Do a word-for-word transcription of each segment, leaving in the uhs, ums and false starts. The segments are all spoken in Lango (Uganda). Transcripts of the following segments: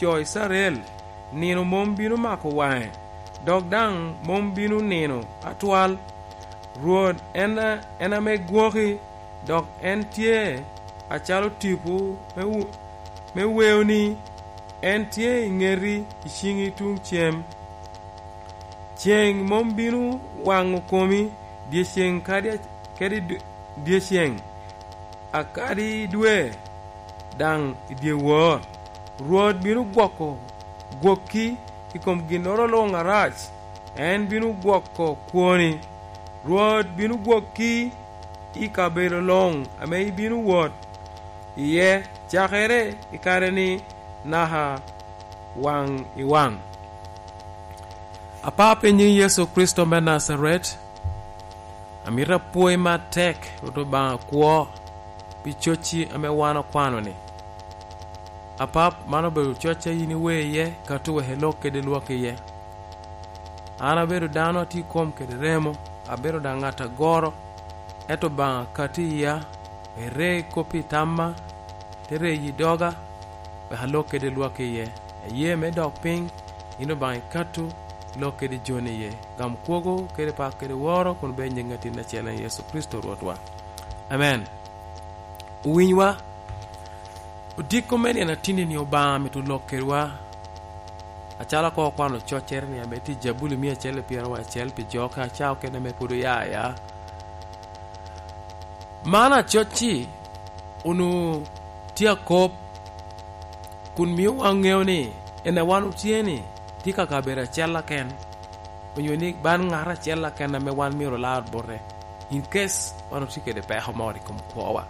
jo Icrael, nino mom bino mako waŋe, dok daŋ mom bino nino atwal. Rwot en, en ame gwoki, dok en tye acalo tipo me wu-, me weoni, en tye i ŋeti, i ciŋi tuŋ cem. Ceŋ mom bino waŋo komi, dyeceŋ kadi, kadi d-, dyeceŋ, akadi dwe daŋ i dyewor. Rwot bino gwoko gwokki i kom ginnoro luŋ arac, en bino gwoko kwoni. Rwot bino gwokki i kabedo luŋ ame ibino wot iye, cakere i kare-ni naka waŋ i waŋ. Apap i nyiŋ Yecu Kricito me Najaret, amito apwoyi matek, Rwot Obaŋa kwo, pi cocci ame wan okwano-ni. Apap, man obedo cocca yin iwe iye, kato wek ilok kede lwak iye. An abedo dano a tye i kom kede remo, abedo daŋ ŋat agoro, ento Obaŋa kati iya, ire i kop i tamma, te reyi i doga, wek alok kede lwak iye. Aye me dok piny, yin Obaŋa ikato, ilok kede joni iye. Gam kwogo kede pak kede woro kun bed nyiŋ atin acel en Yecu Kricito Rwotwa. Amen. Owinywa, odiko me nino atinni ni Obaŋa mito lok kedwa, acalo koŋ okwano coccere ni ame tye i Jabuli mia acel i pyeraryo acel pi jo ka ca okene ame pwod oya aya. Man acocci onwoŋo tye akop, kun mio wan ŋeo ni en a wan otye ni tye ka kabedo acel aken, onyo ni ban ŋat acel aken ame wan myero olar bote, in case wan otye kede peko moro i kom kwowa.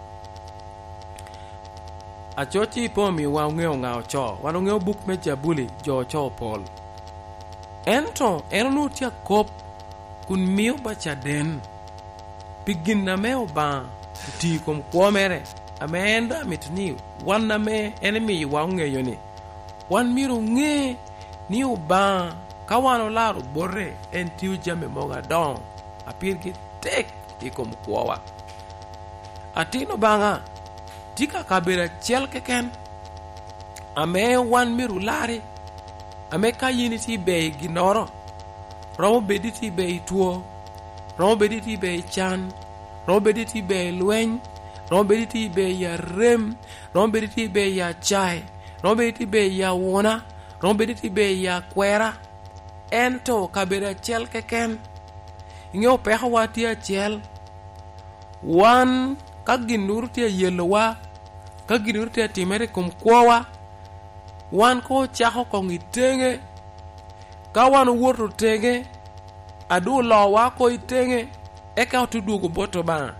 Acocci pe omio wan oŋeo ŋa ocoo, wan oŋeo buk me Jabuli, jo ocoo pol. Ento en onwoŋo tye akop kun mio ba caden pi gin ame Obaŋa otio i kom kwo mere, ame en daŋ amito ni wan ame en emiyowa oŋeyo ni, wan myero oŋe ni Obaŋa, ka wan olaro bote, en tio jami mogo adoŋo, a pirgi tek i kom kwowa. Atin Obaŋa tye ka kabedo acel keken ame wan myero olari, ame ka yin itye i ber i ginnoro, romo bed itye i ber i two, romo bed itye i ber i can, romo bed itye i ber i lweny, romo bed itye i ber i arem, romo bed itye i ber i acae, romo bed itye i ber i awuna, romo bed itye i ber i akwera, ento kabedo acel keken. Iŋeo pekowa tye acel. Wan, ka ginnoro tye ayelowa, ka ginnoro tye atimere i kom kwowa, wan koŋ ocako koŋ i teŋe. Ka wan owoto teŋe, a doŋ olowa oko i teŋe, eka ote dwogo bot Obaŋa.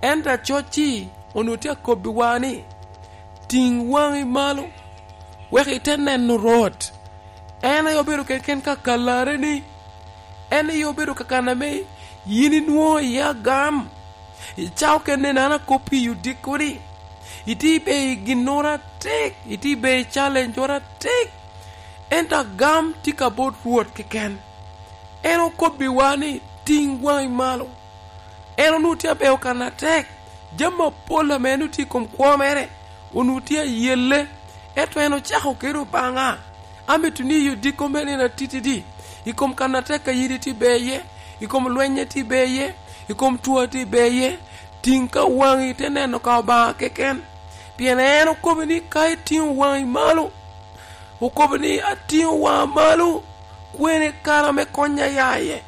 Ento acocci onwoŋo tye akobbiwa ni, "Tiŋ waŋi malo, wek ite neno Rwot." En aye obedo keken ka kalareni. En aye obedo ka kan ame yin inwoŋo iye agam. Icako kene neno akop i odiko-ni. Itye i ber i ginnoro atek, itye i ber i challenge-oro atek. Ento agam tye ka bot Rwot keken. En okobbiwa ni, "Tiŋ waŋi malo." En onwoŋo tye abeyo kan atek. Jami apol ame en otye i kom kwo mere, onwoŋo tye ayelle. Ento en ocako kede Obaŋa. Amito ni i odiko me nino atitidi, i kom kan atek a yin itye ber iye, i kom lweny a tye ber iye, i kom two a tye ber iye, tiŋ ka waŋi te neno ka Obaŋa keken. Pien en okobo ni, "Ka itiŋo waŋi malo," okobo ni, "Atiŋo waŋa malo, kwene kare ame konya ya iye?"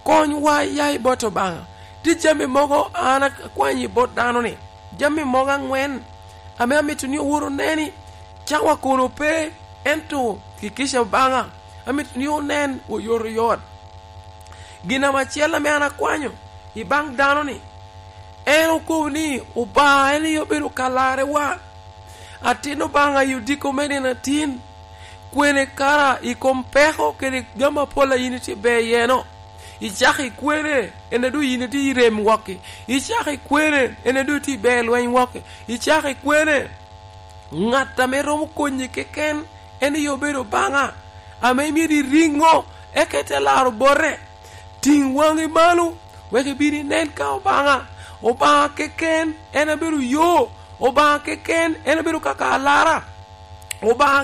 Konywa ya i bot Obaŋa. Tye jami mogo an akwanyo i bot dano-ni, jami mogo aŋwen ame amito ni owot oneni, cawa kono pe, ento kikica Obaŋa amito ni onen oyotoyot. Gin ame acel ame an akwanyo i baŋ dano-ni, en okobo ni Obaŋa en aye obedo kalarewa. Atin Obaŋa i odiko me nino atin, kwene kara i kom peko kede jami apol a yin itye ber iye-no. Icako ikwene, en a doŋ yin itye i rem wok-ki. Icako ikwene, en a doŋ itye i ber lweny wok-ki. Icako ikwene, ŋat ame romo konyi keken en aye obedo Obaŋa, ame myero iriŋo, eka ite laro bote. Tiŋ waŋi malo, wek ibin inen ka Obaŋa. Obaŋa keken en abedo yo. Obaŋa keken en abedo kaka alara. Obaŋa